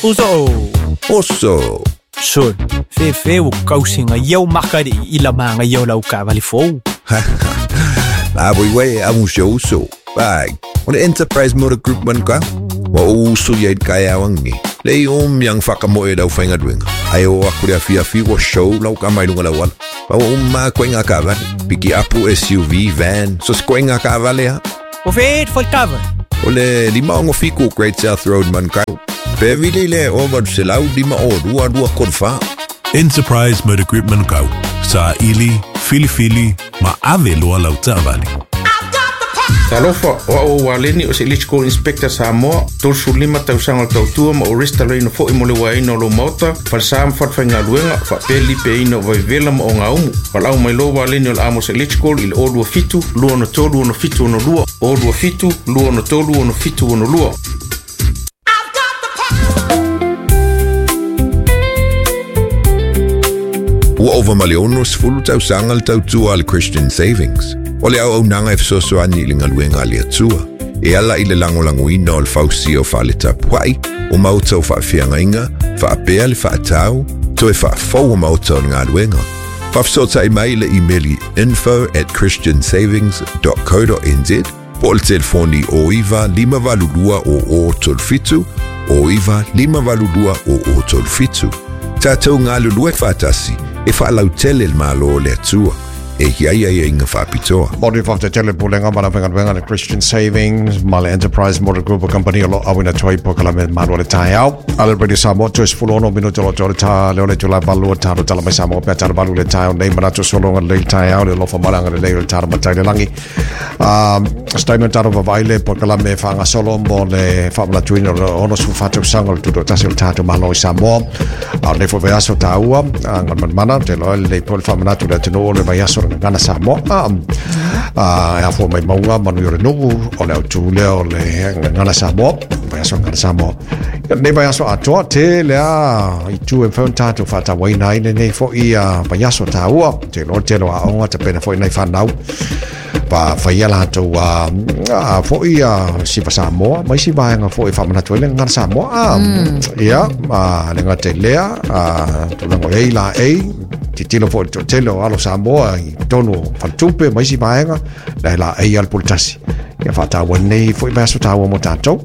Uso. Oso. Sol. Fefe o kausinga iau makari i la manga iau lau kavali fou. La voi wei amu se uso. Bai. O le Enterprise Motor Group man ka. Wa o uso ia i kai awangi. Le i om yang whakamoe rau whainga duenga. Ai o aku rea fia fi wa show lau ka mai lunga lau ala. Pa wa umma koe ngā kavale. Piki apu SUV, van, so se koe ngā kavale ha. O fe fo kava. O le 567 Great South Road Manukau. Pe vili le o valu se lau lima o lua lua kolu wha. Enterprise Motor Group Manukau. Sa ili, filifili, ma ave loa lau taavale. Talofa, o au o Waleni o se Electrical Inspector Samoa, 35 tausaga o le tautua ma o restalaina foi mo le uaina o lou maota, falesa ma falefaigaluega, faapea le lipeaina o vaivevela ma ogaumu. Valaau mai loa Waleni o le Amos Electrical i le 027 263 6762, 027 263 6762. Ua ova ma le 60 tausaga le tautua a le Christian Savings. O le auaunaga e fesoasoani i le galuega a le Atua. E ala i le lagolagoina o le fausia o fale tapuai, o maota o faafeagaiga, faapea le faatau, toe faafou o maota o le galuega. Faafesootai mai le imeli info@christiansavings.co.nz po o le telefoni o 9 582 o 37 o 9 582 o 37. Tātou galulue faatasi e faalautele le Malo o le Atua. E i ai aiaiga faapitoa. Mo le whafte le pulenga ma la whenga le Christian Savings ma le Enterprise Motor Group o company o lo awina toi po kala me malu le tai au. Ale Radio Samoa tu es fulo no minuto lo tole ta le ole tula valu ta lo tala mai Samoa pe tala valu le tai au nei manatu solonga le tai au le lofa malanga le le tala matai le langi. Statement taro vavai le po kala me whanga solo mo le whamanatuina o le ono su whatu sanga o le tuto tasi o le tātou malo i Samoa. A le fo vaiaso tāua, a ngā manmana, te loa le po le whamanatu le atunu o le vaiaso le ngana Samoa. A e afua mai maunga manu i o le nuku o le autu lea o le ngana Samoa, vaiaso ngana Samoa. Ia nei vaiaso atoa te lea i tu e mwhau tātou whatawaina ai nei fo i vaiaso tāua, te loa te loa aonga te pena fo i nei whanau. Pa whaia lātou a foi a siva Samoa, mai si vaenga foi whamanatu ai le ngana Samoa. Ia, le ngā te lea, tūlango ei la ei, titilo foi te tele o alo Samoa i tonu whaltupe, mai si vaenga, le la ei al pultasi. Ia whātāua nei foi vaiaso tāua mo tātou.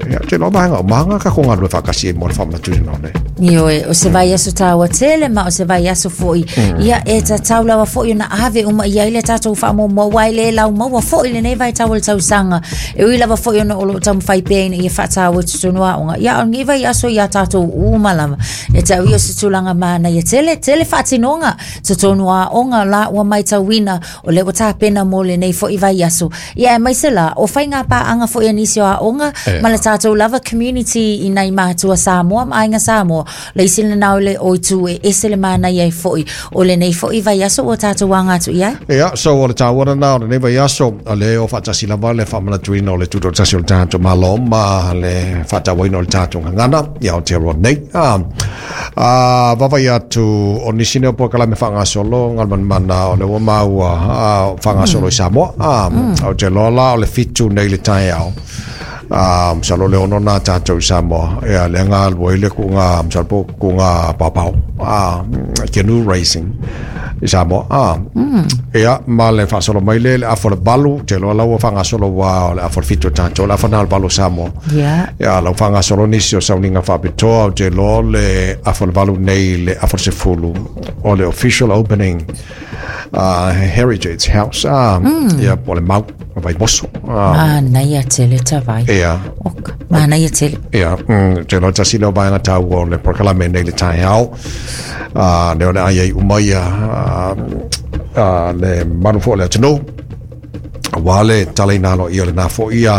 Ia, te loa vaenga o mahanga ka ko ngā rua whakasi e mo le whamanatu i nei. Ioe, o se vaiaso tāua tele ma o se vaiaso foi. Ia, e ta taulawa foi ona ave uma ia ile tātou whaamōmō wai le lau maua foi le nei vai tau le tausanga. E ui lava foi ona o lo tau mwhai pēina ia whātāua tutunu aonga. Ia, o ngi vaiaso ia tātou umalama. E tau ia se tūlanga mana ia tele, tele whaatinonga tutunu aonga la ua mai tauina o le o tāpena mō le nei foi vaiaso. Ia, e mai se la, o whai ngā pāanga foi anisi o aonga, ma le tātou lava community i nei mātua Samoa, ma ainga Samoa. Le isi le nau le oi tu e ese le mana ia i foi, o le nei foi vaiaso o tātou wanga atu ia. Ia, so o le tāua na o le nei vaiaso, o le o whaatasi lava le whamanatuina o le tuto tasi o le tātou malo ma le whaatawaina o le tātou ngangana, ia o te roa nei. Vavai atu o nisi neo po kala me whangasolo, ngalman mana o le ua maua whangasolo i Samoa. O te loa la o le fitu nei le tai au. Salo le ono nā tātou i Samoa. Ia, le ngā alua i le ku ngā, salo po ku ngā papau. Canoe racing i Samoa. Ia, ma le whasolo mai le, le afo le balu, te loa lau whangasolo wā, o le afo le fitu tātou, le afo nā le balu Samoa. Ia, lau whangasolo nisi o sauninga whapitoa, o te loa le afo le balu nei, le afo le sefulu, o le official opening Heritage House. Ia, po le mau, vai moso. Manaia tele ta vai. Ia. Oka, manaia tele. Ia, te loa tasi leo vaenga tau o le prokalame nei le tai au. Le ole ai ai umaia, le manu fo le atunu. Wa le talei nalo ia le nā fo ia,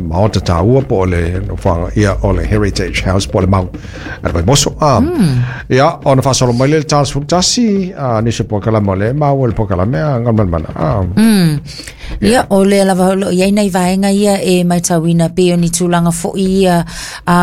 maota tāua po le whanga ia o le Heritage House po le mau. Ana vai moso. Ia, ona whasolo mai le tāls futasi, nisi po kalama le mau le po kalame, ngalman mana. Ia, o le lava lo ia nei vaenga ia e mai tauina pe o ni tūlanga foi ia,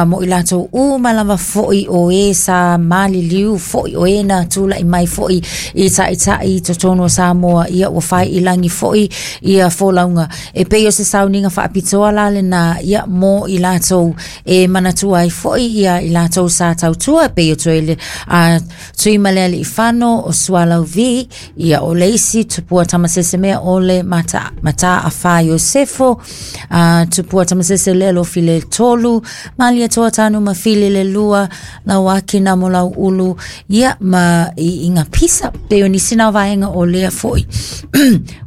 mo i lātou u malava foi o e sa mali liu foi o e na tūla i mai foi i tai tai totonu o Samoa ia ua whai i langi foi Ia folauga e pei o se sauniga faapitoa la lenā ia mo i latou e manatua ai foʻi ia i latou sa tautua e pei o Toele a Tuimalealiifano o Sualauvi ia o le isi Tupua Tamasese o le Mata Mataafa Iosefo a Tupua Tamasese le Alofi le tolu Malietoa Tanu Mafili le lua Lauaki Namolauulu ia ma i, i ngā pisa pei o nisi nā vaega o lea foʻi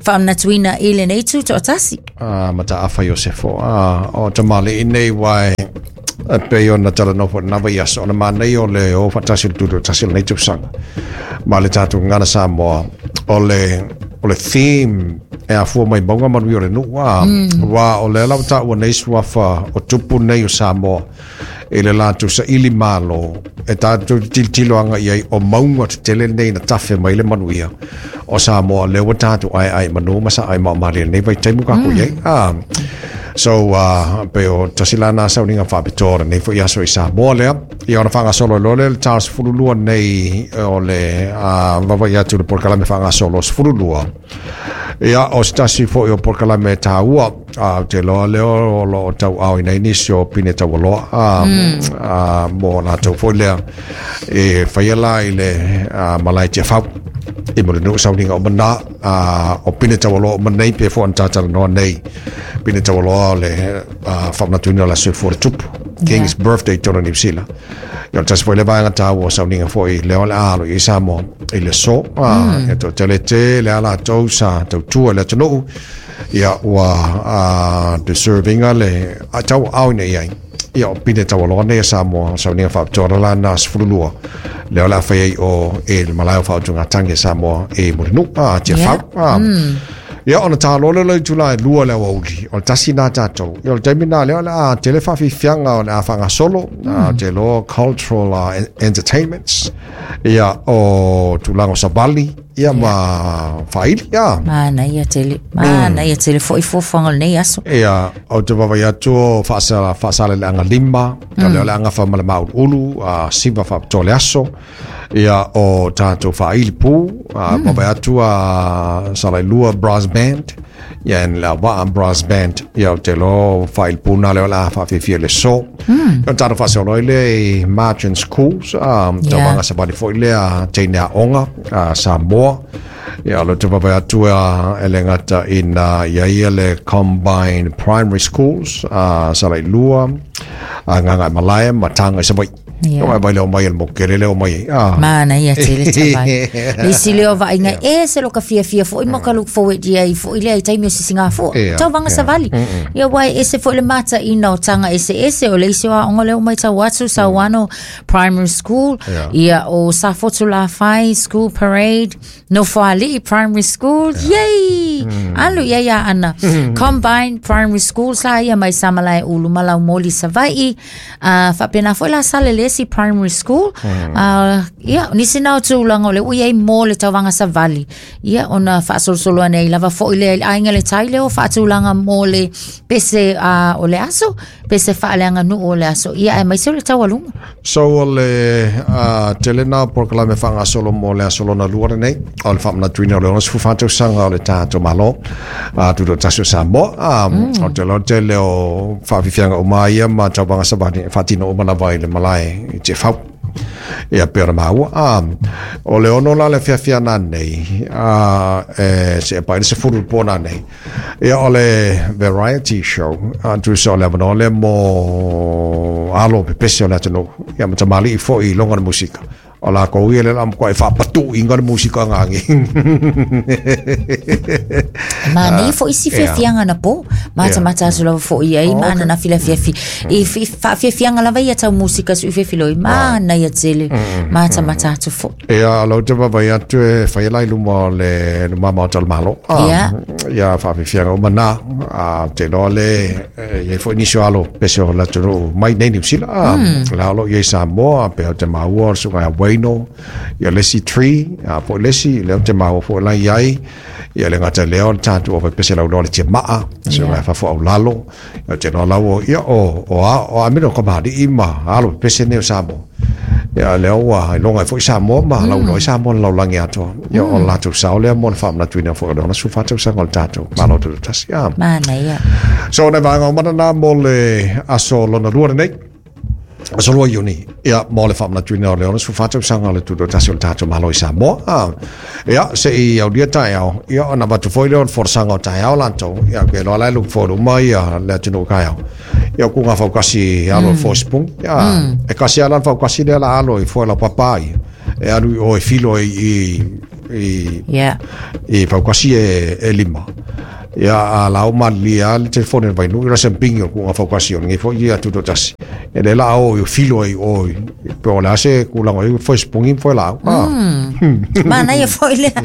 faamanatuina i lenei tutoatasi. A Mataafa Iosefo a o tamaliʻi nei uae e pei ona talanoa foi lena vaiaso ona manaia o le o faatasi o le tutoatasi o lenei tausaga ma le tatou gagana Samoa o le o le theme e afua mai mauga manuia o le nuu a ua o lea la ua taua nei suafa o tupu nei o Samoa i le latou saili malo e tatou te tilotilo agai ai o mauga tetele nei na tafe mai le manuia o Samoa lea ua tatou aeae manu ma saai maomalie lenei vaitaimi ua kākou i ai. So, pei o tasi la na sauniga faapitoa o lenei foi aso i Samoa lea. Ia ona faagasolo ai loa lea le ta 12 nei o le vavaai atu i le polokalame faagasolo 12. Ia, o se tasi foi o polokalame e taua, a, ou te iloa lea o lo o tauaaoina ai nisi o pine taualoa, a, mo latou foi lea e faia la i le malae Tiafau i Mulinuu sauniga uma na, a, o pine taualoa uma nei pe foi ona tatalanoa nei pine taualoa o le faamanatuina o le aso soifua o le tupu King's Birthday tonu i Niu Sila. Ia o le tasi foi lea vaega taua o sauniga foi lea o le a alo i ai Samoa i le aso. Ia toatele tele a latou sa tautua i le atunuu ia ua deserve ina le tauaaoina i ai. Ia o pine taualoa nei a Samoa, o sauniga faapitoa la na 12 lea o le a fai ai o e le malae o faautugatagi a Samoa e Mulinuu, Tiafau. Ia ona taloa lea o le itula e 2 le aoauli, o le tasi na tatou. Ia o le taimi na lea o le a tele faafiafiaga o le a faagasolo, te iloa cultural entertainments, ia o tulaga o savali, ia ma faaili, ia. Manaia tele, manaia tele foi fuafuaga o lenei aso. Ia, ou te vaavaai atu o Faasaleleaga 5, o lea o le a gafa ma le Māuluulu, siva faapitoa le aso. Ia o tatou faaili pū, vaavaai atu a Salailua Brass Band, ia and Leauvaa Brass Band, ia ou te iloa o faaili pū na lea o le a faafiafia i le aso. Ia ona tatou faasolo ai lea i Margin Schools, tauvaga savali foi lea teine aoga a Samoa. Ia o lea ou te vaavaai atu e le gata ina i ai ia le Combined Primary Schools a Salailua, a Gagaemalae ma Taga i Savaii. Yeah. Mai leo mai el mokele leo mai. Ah. Mana ia tele tavai. Le isi leo vaaiga ese lo ka fiafia foʻi ma ka look forward i ai foʻi lea i taimi o sisigafua. Tauvaga savali. Ia uae ese foʻi le mataʻina o taga eseese o le isi o aoga lea ua maitau atu Sauano Primary School, ia o Safotu Lafai School Parade, Nofoalii Primary School, yay! Alu i ai Aana. Combined Primary School sa ia mai Samalaeulu ma Laumoli Savaii. Faapena foi la Salelesi Primary School. Ia, nisi na o tulaga o le ua i ai mo le tauvaga savali. Ia, ona faasolosolo ane ai lava foi lea i le aiga le tai lea o faatulaga mo le pese o le aso, pese faaleaganuu o le aso. Ia, aemaise o le taualuga. So o le tele na o polokalame faagasolo mo le aso lona lua lenei, o le faamanatuina o le 64 tausaga o le tatou Malo, Tutoatasi o Samoa. O te loa tele o faafiafiaga uma ia ma tauvaga savali e faatino uma lava i le malae i Tiafau. Ia pei ona maua. O le 6 la le afiafi ana nei, e seʻe pai le 10 i le po nanei. Ia o le variety show, a tusa o le avanoa lea mo alo pepese o le atunuu, ia ma tamalii foi i loga le musika. O lakou ia le la matuai faapatuuina le musika gagi. Manaia foi isi fiafiaga na po, matamata atu lava foi i ai ma ananafi le afiafi. I faafiafiaga lava ia tau musika sui fiafiloi, manaia tele, matamata atu foi. Ia, o lea ou te vaavaai atu e fai la i luma o le luma maota o le Malo. Ia, faafiafiaga uma na. Ou te iloa le, e i ai foi nisi o alo pese o le atunuu mai nei Niu Sila. La o lo o i ai Samoa, pei ou te maua o le susuga ia Wayno, ia le isi Tree, po o le isi, lea ou te maua foi la i ai. Ia le gata i lea o le tatou au faipese lauloa le Tiamaa, susuga ia Fafo Aulalo. Ia ou te iloa la ua, ia o, o, o Amino Kamali'i ma alo pepese nei o Samoa. Ia lea ua iloga ai foi Samoa ma lauiloa ai Samoa i le lalolagi atoa. Ia o le latou sao lea mo le faamanatuina foi o le 64 tausaga o le tatou Malo Tutoatasi. Manaia. So, o nai vaega uma na mo le aso lona lua lenei. Aso 2 Iuni, ia, mo le faamanatuina o le 64 tausaga o le Tutoatasi o le tatou Malo i Samoa. Ia, se i aulia taeao, ia, ona avatu foi lea o le folasaga o taeao latou, ia, ke loa la e look forward uma ia le atunuu taeao. Ia, o kuga faukasi alo i foe sipungi. Ia, e kasi lava la le faukasi lea la alo i foe laupapa ia. E alu i o e filo i i faukasi e lima. Ia, a la o malilie lava le telefoni o le Vainuu, i rasa pingi o kuga faukasi o lenei foi ia Tutoatasi. E le la o i filo ai o i pe o le a se kulaga i foe sipungi ma foe laau. Manaia foi lea.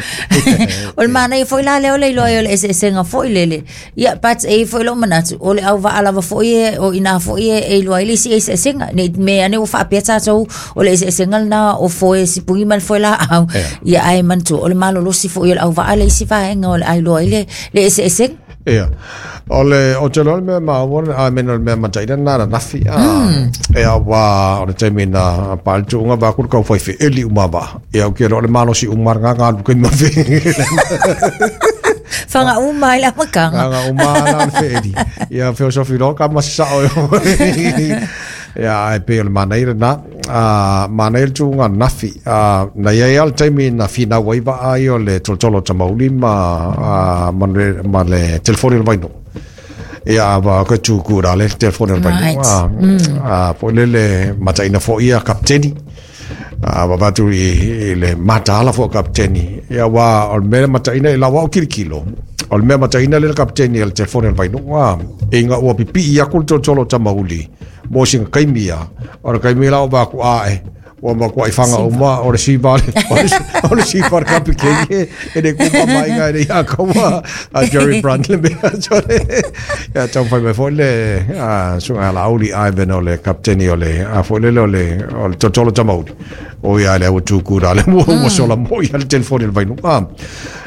O le manaia foi la lea o le iloa ai o le eseesega foi lele. Ia, but e i ai foi lou manatu, o le auvaa lava foi e, o ina foi e iloa ai le isi eseesega. Ne i mea ane ua faapea tatou o le eseesega lena o foe sipungi ma le foe laau. Ia, ae manatua, o le malolosi foi o le auvaa le isi vaega o le a iloa ai le eseesega. Ia. O le, o te loa le mea maua, I mean, o le mea mataina na ananafi. Ia, wa, o le taimi na pa le tuuga va ku le kau fai feeli uma va. Ia, o ke loa le malosi uma nga nga lu ke ma fe. Whanga uma ai le amataga. Whanga uma la le feeli. Ia, feosofi loa ka masi sao e. Ia, ai pe o le manaia lena. Manaia le tuuga ananafi. Na i ai lava le taimi na finau ai vaa ia o le tolotolo o Tamauli ma le telefoni o le Vainuu. Ia, wa koe tū rā le telefoni o le Vainuu. Po lele mataina foi ia kapiteni. Wa vatu i le mataala foi o kapiteni. Ia, wa o le mea mataina i lau au kilikilo. O le mea mataina le kapiteni o le telefoni o le Vainuu. Inga ua pipii aku le tolotolo o Tamauli. Mo singa kaimi ia. O le kaimi la o va ku ae. Ua makuai whanga uma o le siva o le siva le kapikeni e le kuma mai ngai le ia kaua a Jerry Brand le mea tole. Ia tau whai mai foi le sunga la auli Ivan o le kapiteni o le a foi lele o le totolo tamauri. O ia le au tūkū rā le mua ua sola mo ia le telefoni le vainu.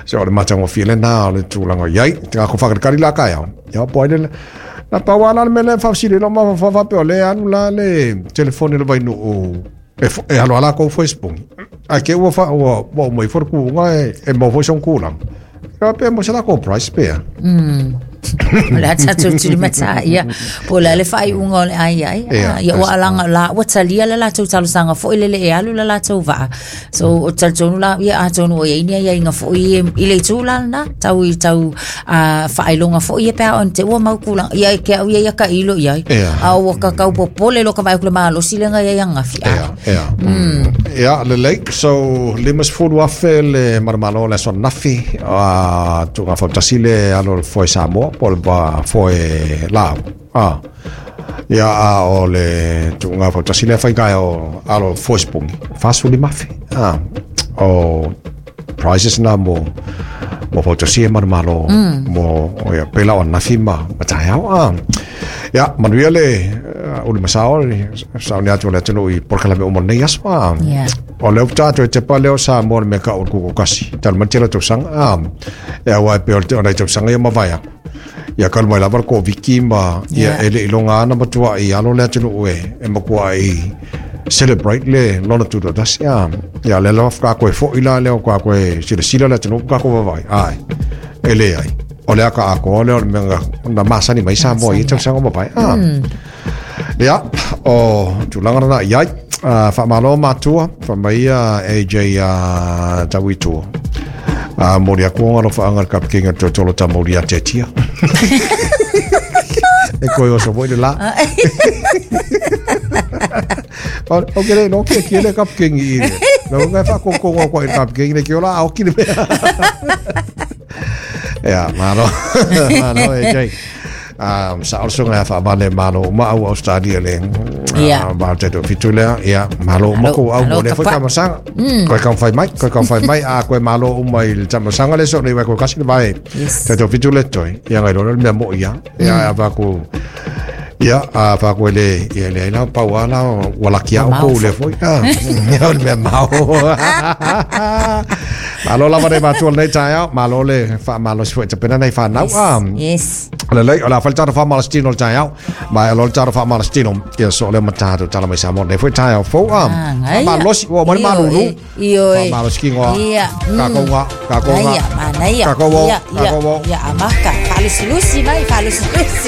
So o le matangofie le nā o le tūlanga iai. Te ngā ko whakarekari la kai au. Ia po ai le na pau ala le mele whawsiri lo ma whawhape o le anu la le telefoni le vainuu e alo ala kou Facebook. Ai ke ua wha ua ua mai fo ku nga e mo fo song kulang. Ka pe mo sala ko price pe. O le a tatou tulimatā ia. Po o le a le faaiuga o le ai ai. Ia ua alaga la ua talia le latou talosaga foi lele e alu le latou vaa. So o talitonu la ia atonu o i ai ni aiaiga foi i le itu la lena tau i tau faailoga foi ia pe a ona te ua mau tulaga ia ke au ia ia ka ilo i ai. A ua kakau popole lo ka vaai atu le malosi lea na i ai ananafi. Ia, ia, lelei. So, 50,000 le manumalo o le aso ananafi, tuuga fautasi le alo o le foe Samoa po o le foe laau. Ia, a o le tuuga fautasi lea faigae o alo o le foe sipungi, 45,000. O prizes na mo fautasi e manumalo mo ia pela o ananafi ma taeao. Ia, manuia le uli masao le sauni atu o le atunuu i polokalame uma o lenei aso. O lea ua tatou e tepa lea o Samoa le mea kau o le kuku kasi. Talu mai tele o tausaga. Ia aua e pei o nai tausaga ia mavae aku. Ia kalu mai lava le Koviti ma ia e le iloga ana matuai alo le atunuu e matuai celebrate le lona tutoatasi. Ia lea lava ka koe foi la lea o ka koe silasila le atunuu ka koe vavaai. Ai, e leai. O le aka akoa lea o le mea na masani mai Samoa i tausaga o mavae. Ia, o tulaga lena i ai. Faamalo matua, faamai ia AJ Tauitua. Moli aku o alofaanga le kapikeni o le tolotolo tamauli ia Tetia. E koe oso foi le la. O ke le no ke ki le kapikeni i le. No ngai whaakongkongo koe i le kapikeni le ki o la aoki le mea. Ia, malo. Malo AJ. Sa o le susuga ia faavale malo uma au Australia le ma te fitu lea ia malo uma ko au mo le foi tamasaga koe kau fai mai koe kau fai mai a koe malo uma i le tamasaga le so nei wai koe kasi le vae te fitu le toi ia ngai lona le mea mo ia ia a va ku Ia, a whākua le, ia le aina pau ala, ua laki au Mau kou le foi. Ah, ia o le mea mau. Malo lava nei matua lenei taeao, malo le whaamalosi foi tapena nei whanau. Ah, Yes. Lelei, o la whale tātou whaamalositino le taeao. Ma e lo le tātou whaamalositino, ia so le matātou tala mai Samoa nei foi taeao fou. Ah, Ah, ngai. whaamalosi, ua mani Io, malulu. e, io, e. Whaamalosi ki ngoa. Ia, Kākou ngā, kākou ngā. Naia, manaia. Kākou o, Ia, ia, kākou o. Ia, amaka. Faalusilusi mai, faalusilusi.